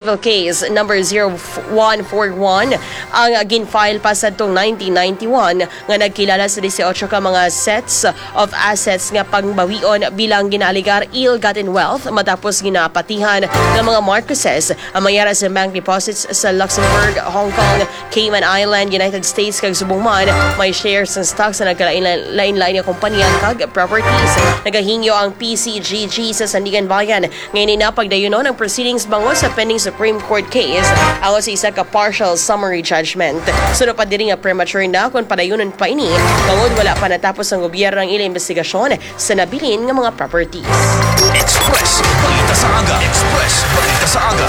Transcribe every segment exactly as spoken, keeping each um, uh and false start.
Case number zero one four one ang ginfile pa sadtong nineteen ninety-one, nga nagkilala sa dieciocho ka mga sets of assets nga pangbawion bilang ginaalegar ill-gotten wealth matapos ginapatihan ng mga Marcoses ang mga yara sa bank deposits sa Luxembourg, Hong Kong, Cayman Island, United States, kag subong man may shares sang stocks sa nagkalain-lain nga kompanya kag properties. Nagahingyo ang P C G G sa Sandiganbayan nga ini na pagdayunon ang proceedings bangod sa pending Supreme Court case angot sa isa ka partial summary judgment. Suno pa diri nga premature na kon padayunon pa ini, bangod wala pa natapos ang gobyerno ang ila investigasyon sa nabilin nga mga properties. Express Balita sa Aga. Express Balita sa Aga.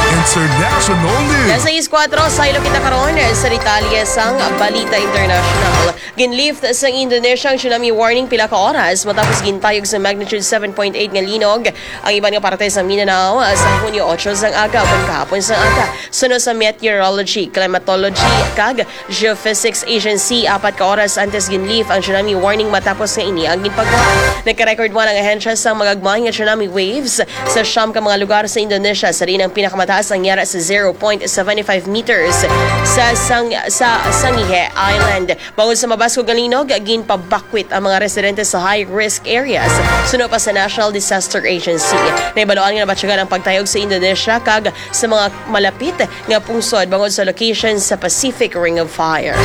International news. Las sais kuwatro, saylo kita karon sa detalye sang balita international. Ginlift sang Indonesia ang tsunami warning pila ka oras matapos gintayog sa magnitude seven point eight nga linog ang iban nga parte sa Mindanao, ah, sa Hunyo otso sang aga, ukon kahapon sang aga. Suno sa Meteorology, Climatology, kag Geophysics Agency, apat ka oras antes ginlift ang tsunami warning matapos nga ini ang ginpagwa. Nagka-record man ang ahensya sang magagmay nga tsunami waves sa siyam ka mga lugar sa Indonesia, sa diin ang pinakamataas ang yara sa zero point seven five meters sa sang-, sa Sangihe Island. Bangod sa mabaskog nga linog, ginpabakwit ang mga residente sa high-risk areas, suno pa sa National Disaster Agency. Nahibaluan nga nabatyagan ang pagtayog sa Indonesia kag sa mga malapit nga pungsod bangod sa location sa Pacific Ring of Fire.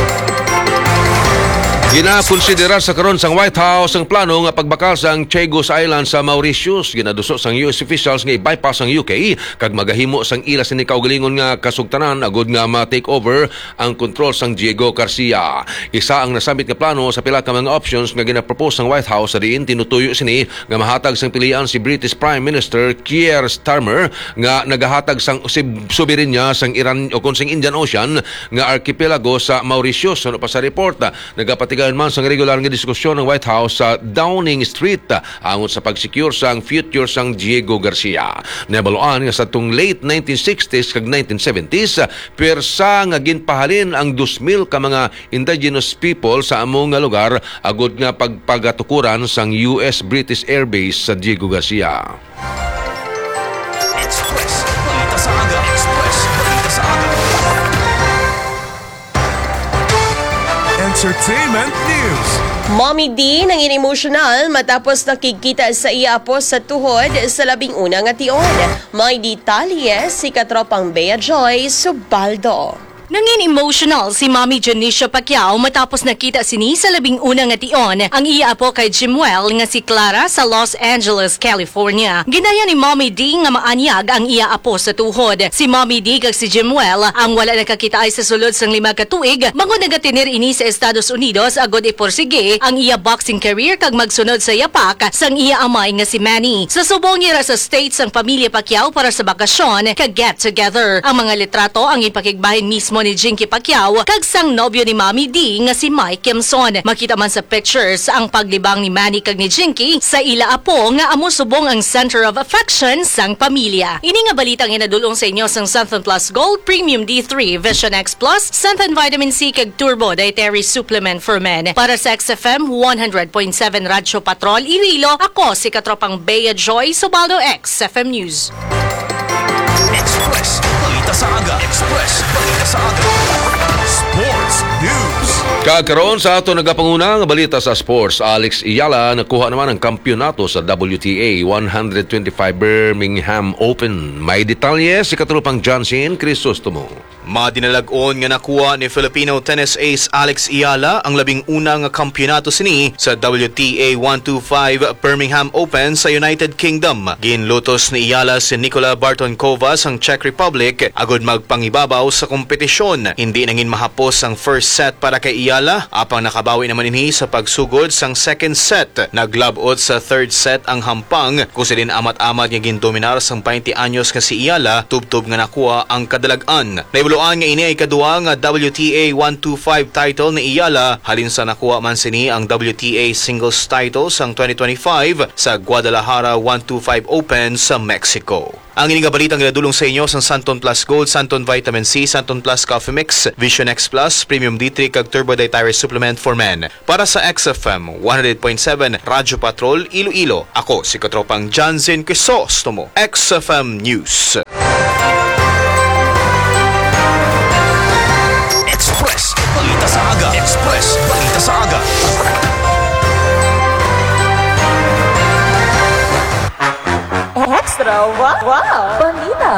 Ginakonsiderar sa karon sang White House ang plano nga pagbakal sang Chagos Island sa Mauritius. Ginaduso sang U S officials nga i-bypass ang U K kag magahimo sang ila sini kaugalingon nga kasugtanan agud nga ma-take over ang kontrol sang Diego Garcia. Isa ang nasambit nga plano sa pila ka mga options nga ginapropose sang White House, sa diin tinutuyo sini nga mahatag sang pilian si British Prime Minister Keir Starmer, nga nagahatag sang sib-, soberanya sang Iran o kon sang Indian Ocean nga arkipelago sa Mauritius. Suno pa sa report, nagapatigayon man sang regular nga diskusyon ang White House sa Downing Street angot sa pag-secure sang future sang Diego Garcia. Nabaluan nga sa tong late nineteen sixties kag nineteen seventies, pwersa nga ginpahalin ang dos mil ka mga indigenous people sa amo nga lugar agud nga pagpagatukuran sang U S British Air Base sa Diego Garcia. Express Balita sa Aga. Express Balita sa Aga. Entertainment News. Mommy D nangin emosyonal matapos nakigkita sa iya apo sa tuhod sa labing una nga tion. May detalye si katropang Bea Joy Subaldo. Nangin emotional si Mommy Janicia Pacquiao matapos nakita sini sa labing una nga tion ang iya apo kay Jimuel nga si Clara sa Los Angeles, California. Ginaya ni Mommy D nga maanyag ang iya apo sa tuhod. Si Mommy D kag si Jimuel ang wala nakakitaay sa sulod sang lima ka tuig, bangod nagatener ini sa Estados Unidos agud iporsige ang iya boxing career kag magsunod sa yapak sang iya amay nga si Manny. Sa subong, yara sa States ang pamilya Pacquiao para sa bakasyon kag get-together. Ang mga litrato ang ipakigbahin mismo ni Jinky Pacquiao kag sang nobyo ni Mommy D nga si Mike Kimson. Makita man sa pictures ang paglibang ni Manny kag ni Jinky sa ila apo nga amo subong ang center of affection sang pamilya. Ini nga balita ang inadulong sa inyo sang Santhon Plus Gold, Premium D three, Vision X Plus, Santhon Vitamin C kag Turbo Dietary Supplement for Men. Para sa X F M one hundred point seven Radyo Patrol Iloilo, ako si katropang Bea Joy Subaldo, X F M News. Express Balita sa Aga. Express Balita sa Aga. Sports News. Kag karon sa ato nagapanguna nga balita sa sports, Alex Eala nakuha naman ang kampiyonato sa W T A one hundred twenty-five Birmingham Open. May detalye si katropang Johnson Crisostomo. Madinalag-on nga nakuha ni Filipino tennis ace Alex Eala ang labing una nga kampiyonato sini sa W T A one two five Birmingham Open sa United Kingdom. Ginlutos ni Eala si Nikola Bartonkova sang Czech Republic agud magpangibabaw sa kompetisyon. Hindi nangin mahapos ang first set para kay Eala, apang nakabawi naman ini sa pagsugod sang second set. Naglab-ot sa third set ang hampang, kung sa diin amat-amat nga gindominar sang twenty anyos nga si Eala, tubtob nga nakuha ang kadalag-an. Nahibaluan Tuan nga ini ay kadua nga W T A one two five title ni Iyala, halin sa nakuha man sini ang W T A singles title sang twenty twenty-five sa Guadalajara one two five Open sa Mexico. Ang ini nga balita ang ginadulong sa inyo sang Santon Plus Gold, Santon Vitamin C, Santon Plus Coffee Mix, Vision X Plus, Premium D three kag Turbo Dietary Supplement for Men. Para sa X F M one hundred point seven Radyo Patrol Iloilo, ako si Katropang Janzen Crisostomo, X F M News. Express Balita sa Aga. Express Balita sa Aga. Extra wa-, wow! Balita.